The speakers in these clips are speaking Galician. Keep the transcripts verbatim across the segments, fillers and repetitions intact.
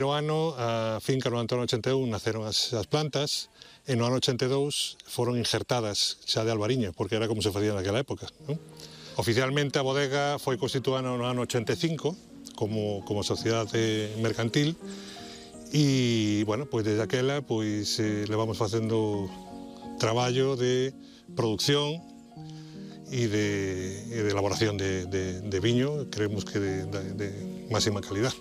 No ano, a finca no ano ochenta e un naceron as, as plantas, e no ano ochenta e dous foron injertadas xa de albariño, porque era como se facía naquela época, non? Oficialmente a bodega foi constituída no ano ochenta e cinco como, como sociedade mercantil e, bueno, pois desde aquela pois, eh, levamos facendo traballo de producción e de, e de elaboración de, de, de viño, creemos que de, de, de máxima calidad.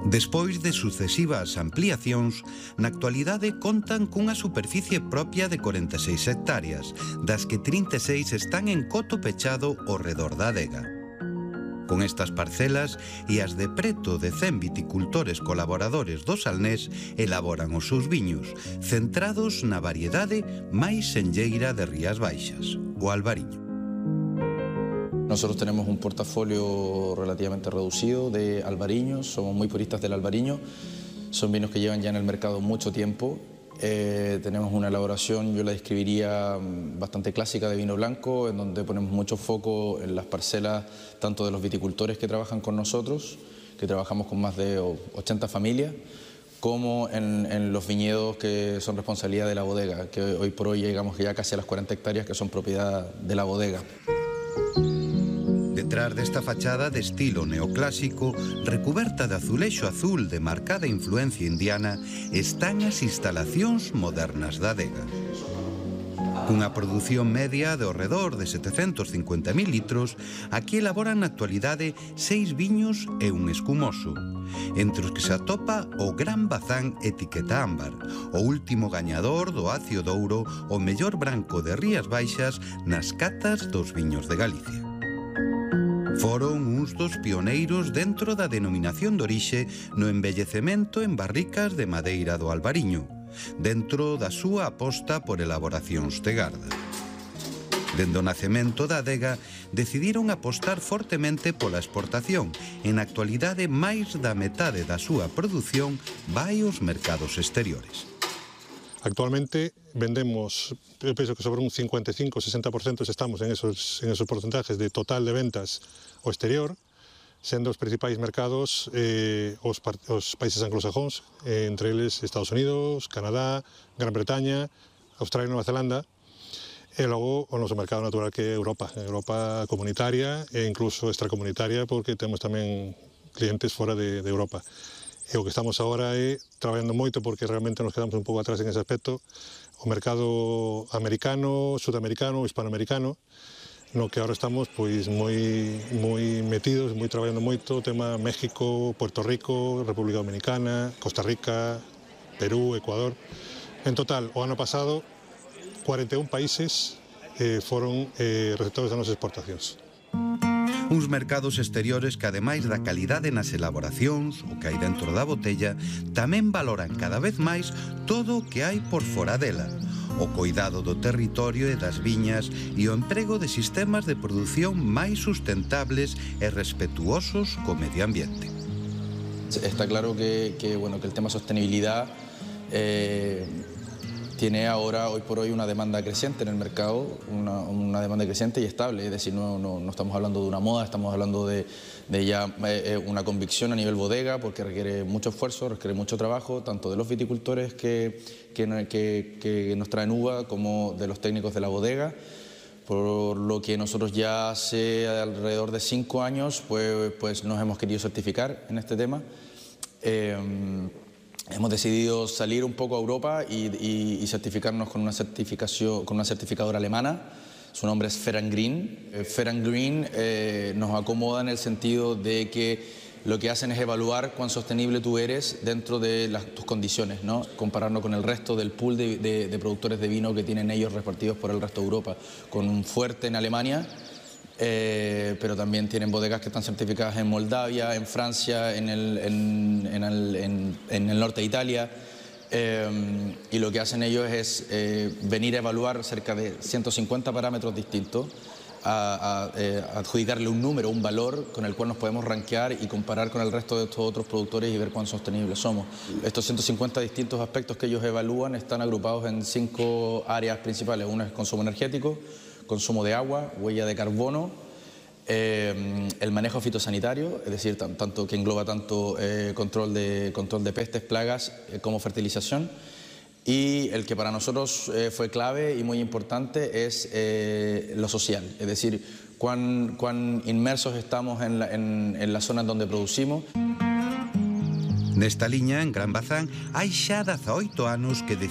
Despois de sucesivas ampliacións, na actualidade contan cunha superficie propia de corenta e seis hectáreas, das que trinta e seis están en coto pechado ao redor da adega. Con estas parcelas e as de preto de cen viticultores colaboradores do Salnés elaboran os seus viños, centrados na variedade máis senlleira de Rías Baixas, o albariño. Nosotros tenemos un portafolio relativamente reducido de albariños, somos muy puristas del albariño, son vinos que llevan ya en el mercado mucho tiempo. Eh, tenemos una elaboración, yo la describiría bastante clásica de vino blanco, en donde ponemos mucho foco en las parcelas tanto de los viticultores que trabajan con nosotros, que trabajamos con más de ochenta familias, como en, en los viñedos que son responsabilidad de la bodega, que hoy por hoy llegamos ya casi a las cuarenta hectáreas que son propiedad de la bodega. Detrás desta fachada de estilo neoclásico, recuberta de azulexo azul de marcada influencia indiana, están as instalacións modernas da adega. Cunha produción media de ao redor de setecentos cincuenta mil litros, aquí elaboran na actualidade seis viños e un escumoso, entre os que se atopa o Gran Bazán etiqueta ámbar, o último gañador do Acio de Ouro, o mellor branco de Rías Baixas nas catas dos viños de Galicia. Foron uns dos pioneiros dentro da denominación de orixe no embellecemento en barricas de madeira do albariño, dentro da súa aposta por elaboracións de garda. Dende o nacemento da adega, decidiron apostar fortemente pola exportación. En actualidade, máis da metade da súa produción vai aos mercados exteriores. Actualmente vendemos, eu penso que sobre un cincuenta e cinco a sesenta por ciento estamos en esos, en esos porcentajes de total de ventas ao exterior, sendo os principais mercados eh, os, os países anglosajóns, eh, entre eles Estados Unidos, Canadá, Gran Bretaña, Australia e Nova Zelanda, e logo o noso mercado natural que é Europa, Europa comunitaria e incluso extracomunitaria, porque temos tamén clientes fora de, de Europa. E o que estamos agora é traballando moito, porque realmente nos quedamos un pouco atrás en ese aspecto, o mercado americano, sudamericano, hispanoamericano, no que agora estamos pois moi moi metidos, moi traballando moito, o tema México, Puerto Rico, República Dominicana, Costa Rica, Perú, Ecuador. En total, o ano pasado, cuarenta e un países eh, foron eh, receptores das nosas exportacións. Uns mercados exteriores que, ademais da calidade nas elaboracións, o que hai dentro da botella, tamén valoran cada vez máis todo o que hai por fora dela, o coidado do territorio e das viñas e o emprego de sistemas de produción máis sustentables e respetuosos co medio ambiente. Está claro que, que, bueno, que el tema sostenibilidad eh, tiene ahora, hoy por hoy, una demanda creciente en el mercado, una, una demanda creciente y estable, es decir, no, no, no estamos hablando de una moda, estamos hablando de, de ya eh, una convicción a nivel bodega, porque requiere mucho esfuerzo, requiere mucho trabajo, tanto de los viticultores que, que, que, que nos traen uva, como de los técnicos de la bodega, por lo que nosotros ya hace alrededor de cinco años pues, pues nos hemos querido certificar en este tema. Eh, Hemos decidido salir un poco a Europa y, y, y certificarnos con una, certificación, con una certificadora alemana. Su nombre es Fair and Green. Eh, Fair and Green eh, nos acomoda en el sentido de que lo que hacen es evaluar cuán sostenible tú eres dentro de las, tus condiciones, ¿no? Compararnos con el resto del pool de, de, de productores de vino que tienen ellos repartidos por el resto de Europa, con un fuerte en Alemania. Eh, pero también tienen bodegas que están certificadas en Moldavia, en Francia, en el, en, en el, en, en el norte de Italia, eh, y lo que hacen ellos es eh, venir a evaluar cerca de ciento cincuenta parámetros distintos, a, a eh, adjudicarle un número, un valor con el cual nos podemos rankear y comparar con el resto de estos otros productores y ver cuán sostenibles somos. Estos ciento cincuenta distintos aspectos que ellos evalúan están agrupados en cinco áreas principales. Una es consumo energético, consumo de agua, huella de carbono, eh, el manejo fitosanitario, es decir, tan, tanto, que engloba tanto eh, control, de, control de pestes, plagas eh, como fertilización. Y el que para nosotros eh, fue clave y muy importante es eh, lo social, es decir, cuán, cuán inmersos estamos en, la, en, en las zonas donde producimos. Nesta liña, en Gran Bazán, hai xa dezaoito anos que